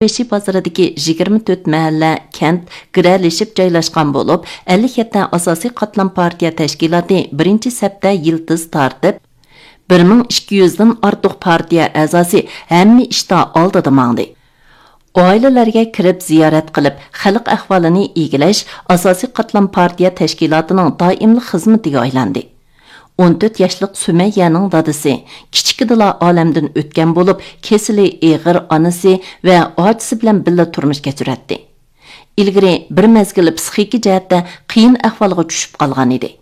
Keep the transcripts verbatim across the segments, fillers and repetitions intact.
بېشى بازىرىدىكى يىگىرمە تۆت مەھەللە، كەنت گىرەلىشىپ جايلاشقان بولۇپ، ئەللىك يەتتە ئاساسىي قاتلام پارتىيە تەشكىلاتى بىرىنچى سەپتە يىلتىز تارتىپ، بىر مىڭ ئىككى يۈزدىن ئارتۇق پارتىيە ئەزاسى ھەممە ئىشتا ئالدىدا ماڭدى. ئائىلىلەرگە كىرىپ زىيارەت قىلىپ، خەلق ئەھۋالىنى ئىگىلەش ئاساسىي قاتلام پارتىيە تەشكىلاتىنىڭ دائىملىق خىزمىتىگە ئايلاندى. ئون تۆت ياشلىق سۈمەييەنىڭ دادىسى كىچىكىدىلا ئالەمدىن ئۆتكەن بولۇپ، كېسىلى ئېغىر ئانىسى ۋە ئاچىسى بىلەن بىللە تۇرمۇش كەچۈرەتتى. ئىلگىرى بىر مەزگىل پسىخىكا جەھەتتە قىيىن ئەھۋالغا چۈشۈپ قالغان ئىدى.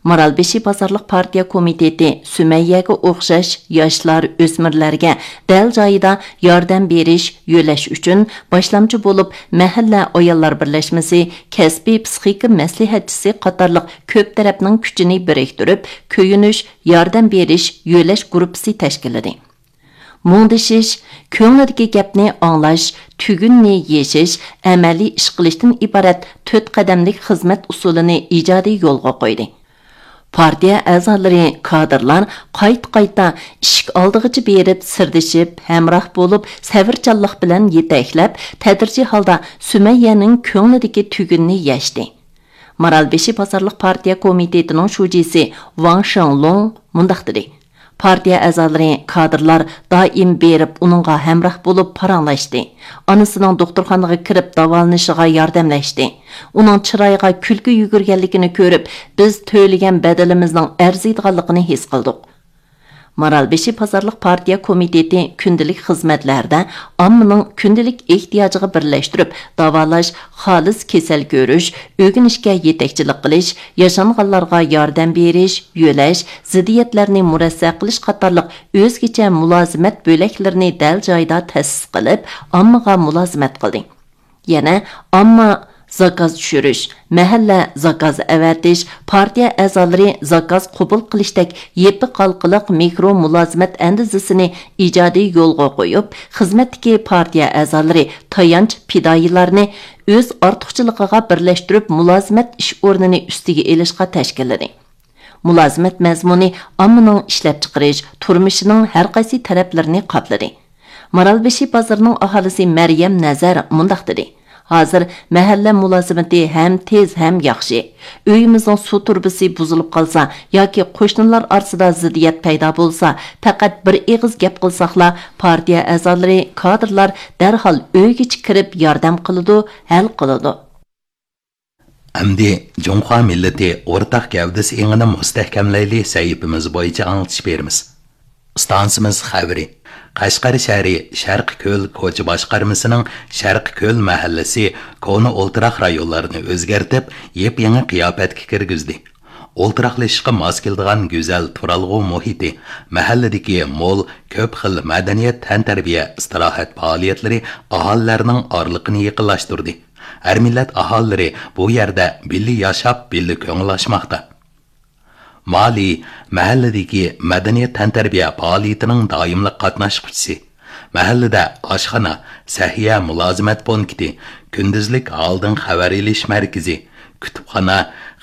مارالبېشى بازارلىق پارتىيە كومىتېتى سۈمەييەگە ئوخشاش ياشلار، ئۆسمۈرلەرگە دەل جايىدا ياردەم بېرىش، يۆلەش ئۈچۈن باشلامچى بولۇپ، مەھەللە ئاياللار بىرلەشمىسى، كەسپىي پسىخىكا مەسلىھەتچىسى قاتارلىق كۆپ تەرەپنىڭ كۈچىنى بىرىكتۈرۈپ، كۆيۈنۈش، ياردەم بېرىش، يۆلەش گۇرۇپپىسى تەشكىللىدى. مۇڭدىشىش، كۆڭلىدىكى گەپنى ئاڭلاش، تۈگۈننى يېشىش، ئەمەلىي ئىش قىلىشتىن ئىبارەت تۆت قەدەملىك خىزمەت ئۇسۇلىنى ئىجادىي يولغا قويدى. پارتىيە ئەزالىرى، كادىرلار قايتا-قايتا ئىشىك ئالدىغىچە بېرىپ، سىردىشىپ، ھەمراھ بولۇپ، سەۋرچانلىق بىلەن يېتەكلەپ، تەدرىجىي ھالدا سۈمەييەنىڭ كۆڭلىدىكى تۈگۈننى يەشتى. مارالبېشى بازارلىق پارتىيە كومىتېتىنىڭ شۇجىسى ۋاڭ شېڭلۇڭ مۇنداق دېدى: پارتىيە ئەزالىرى، كادىرلار دائىم بېرىپ ئۇنىڭغا ھەمراھ بولۇپ پاراڭلاشتى. ئانىسىنىڭ دوختۇرخانىغا كىرىپ داۋالىنىشىغا ياردەملەشتى. ئۇنىڭ چىرايىغا كۈلكە يۈگۈرگەنلىكىنى كۆرۈپ، بىز تۆلىگەن بەدىلىمىزنىڭ ئەرزىيدىغانلىقىنى ھېس قىلدۇق. مارالبېشى بازارلىق پارتىيە كومىتېتى كۈندىلىك خىزمەتلەردە ئاممىنىڭ كۈندىلىك ئېھتىياجىغا بىرلەشتۈرۈپ داۋالاش، خالىس كېسەل كۆرۈش، ئۆگىنىشكە يېتەكچىلىك قىلىش، ياشانغانلارغا ياردەم بېرىش، يۆلەش، زىددىيەتلەرنى مۇرەسسە قىلىش قاتارلىق ئۆزگىچە مۇلازىمەت بۆلەكلىرىنى دەل جايىدا تەسىس قىلىپ، ئاممىغا مۇلازىمەت قىلدى. يەنە ئامما زاكاز چۈشۈرۈش، مەھەللە زاكاز ئەۋەتىش، پارتىيە ئەزالىرى زاكاز قوبۇل قىلىشتەك يېپىق ھالقىلىق مىكرو مۇلازىمەت ئەندىزىسىنى ئىجادىي يولغا قويۇپ، خىزمەتتىكى پارتىيە ئەزالىرى تايانچ پىدائىيلارنى ئۆز ئارتۇقچىلىقىغا بىرلەشتۈرۈپ، مۇلازىمەت ئىش ئورنىنى ئۈستىگە ئېلىشقا تەشكىللىدى. مۇلازىمەت مەزمۇنى ئاممىنىڭ ئىشلەپچىقىرىش، تۇرمۇشىنىڭ ھەر قايسى تەرەپلىرىنى قاپلىدى. مارالبېشى بازىرىنىڭ ئاھالىسى مەريەم نەزەر مۇنداق دېدى: ھازىر مەھەللە مۇلازىمىتى ھەم تېز، ھەم ياخشى. ئۆيىمىزنىڭ سۇ تۇرۇبىسى بۇزۇلۇپ قالسا ياكى قوشنىلار ئارىسىدا زىددىيەت پەيدا بولسا، پەقەت بىر ئېغىز گەپ قىلساقلا، پارتىيە ئەزالىرى، كادىرلار دەرھال ئۆيگىچە كىرىپ ياردەم قىلىدۇ، ھەل قىلىدۇ. ئەمدى جۇڭخۇا مىللىتى ئورتاق گەۋدىسى ئېڭىنى مۇستەھكەملەيلى سەھىپىمىز بويىچە ئاڭلىتىش بېرىمىز. ئىستانسىمىز خەۋىرى. قەشقەر شەھىرى شەرقىي كۆل كوچا باشقارمىسىنىڭ شەرقىي كۆل مەھەللىسى كونا ئولتۇراق رايونلارنى ئۆزگەرتىپ، يېپيېڭى قىياپەتكە كىرگۈزدى. ئولتۇراقلىشىشقا ماس كېلىدىغان گۈزەل تۇرالغۇ مۇھىتى، مەھەللىدىكى مول، كۆپ خىل مەدەنىيەت، تەنتەربىيە، ئىستىراھەت پائالىيەتلىرى ئاھالىلەرنىڭ ئارىلىقىنى يېقىنلاشتۇردى. ھەر مىللەت ئاھالىلىرى بۇ يەردە بىللە ياشاپ، بىللە كۆڭۈل ئاچماقتا. مالى مەھەللىدىكى مەدەنىيەت تەنتەربىيە پائالىيىتىنىڭ دائىملىق قاتناشقۇچىسى. مەھەللىدە ئاشخانا، سەھىيە مۇلازىمەت پونكىتى، كۈندۈزلۈك ھالدىن خەۋەر ئېلىش مەركىزى، كۇتۇپخانا،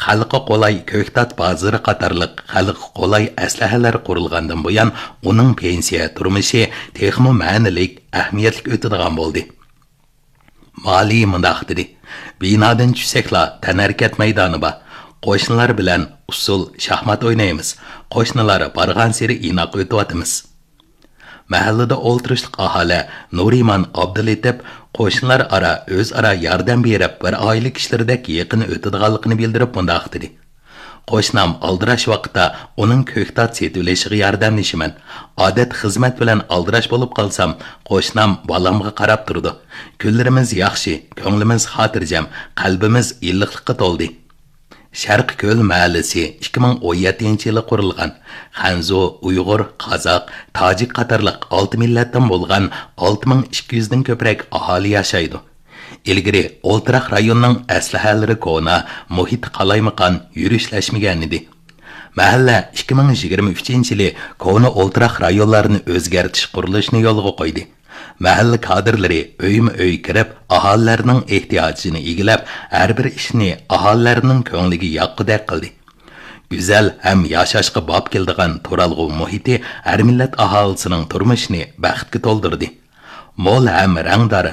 خەلققە قولاي كۆكتات بازىرى قاتارلىق خەلققە قولاي ئەسلىھەلەر قۇرۇلغاندىن بۇيان، ئۇنىڭ پېنسىيە تۇرمۇشى تېخىمۇ مەنىلىك، ئەھمىيەتلىك ئۆتىدىغان بولدى. مالى مۇنداق دېدى: بىنادىن چۈشسەكلا، تەنھەرىكەت مەيدانى بار. قوشنىلار بىلەن ئۇسسۇل شاھمات ئوينايمىز. قوشنىلار بارغانسېرى ئىناق ئۆتۈۋاتىمىز. مەھەللىدە ئولتۇرۇشلۇق ئاھالە نۇرىمان ئابدۇلېتىپ قوشنىلار ئارا ئۆزئارا ياردەم بېرىپ، بىر ئائىلە كىشىلىرىدەك يېقىن ئۆتىدىغانلىقىنى بىلدۈرۈپ مۇنداق دېدى: قوشنام ئالدىراش ۋاقىتتا ئۇنىڭ كۆكتات سېتىۋېلىشىغا ياردەملىشىمەن. ئادەتتە خىزمەت بىلەن ئالدىراش بولۇپ قالسام، قوشنام بالامغا قاراپ تۇرىدۇ. كۈنلىرىمىز ياخشى، كۆڭلىمىز خاتىرجەم، قەلبىمىز ئىللىقلىققا تولدى. شەرقىي كۆل مەھەللىسى ئىككى مىڭ ئون يەتتىنچى يىلى قۇرۇلغان. خەنزۇ، ئۇيغۇر، قازاق، تاجىك قاتارلىق ئالتە مىللەتتىن بولغان ئالتە مىڭ ئىككى يۈزدىن كۆپرەك ئاھالە ياشايدۇ. ئىلگىرى ئولتۇراق رايوننىڭ ئەسلىھەلىرى كونا، مۇھىتى قالايمىقان، يۈرۈشلەشمىگەنىدى. مەھەللە ئىككى مىڭ يىگىرمە ئۈچىنچى يىلى كونا ئولتۇراق رايونلارنى ئۆزگەرتىش قۇرۇلۇشىنى يولغا قويدى. مەھەللە كادىرلىرى ئۆيمۇ ئۆي كىرىپ، ئاھالىلەرنىڭ ئېھتىياجىنى ئىگىلەپ، ھەر بىر ئىشنى ئاھالىلەرنىڭ كۆڭلىگە ياققۇدەك قىلدى. گۈزەل ھەم ياشاشقا باب كېلىدىغان تۇرالغۇ مۇھىتى ھەر مىللەت ئاھالىسىنىڭ تۇرمۇشىنى بەختكە تولدۇردى. مول ھەم رەڭدار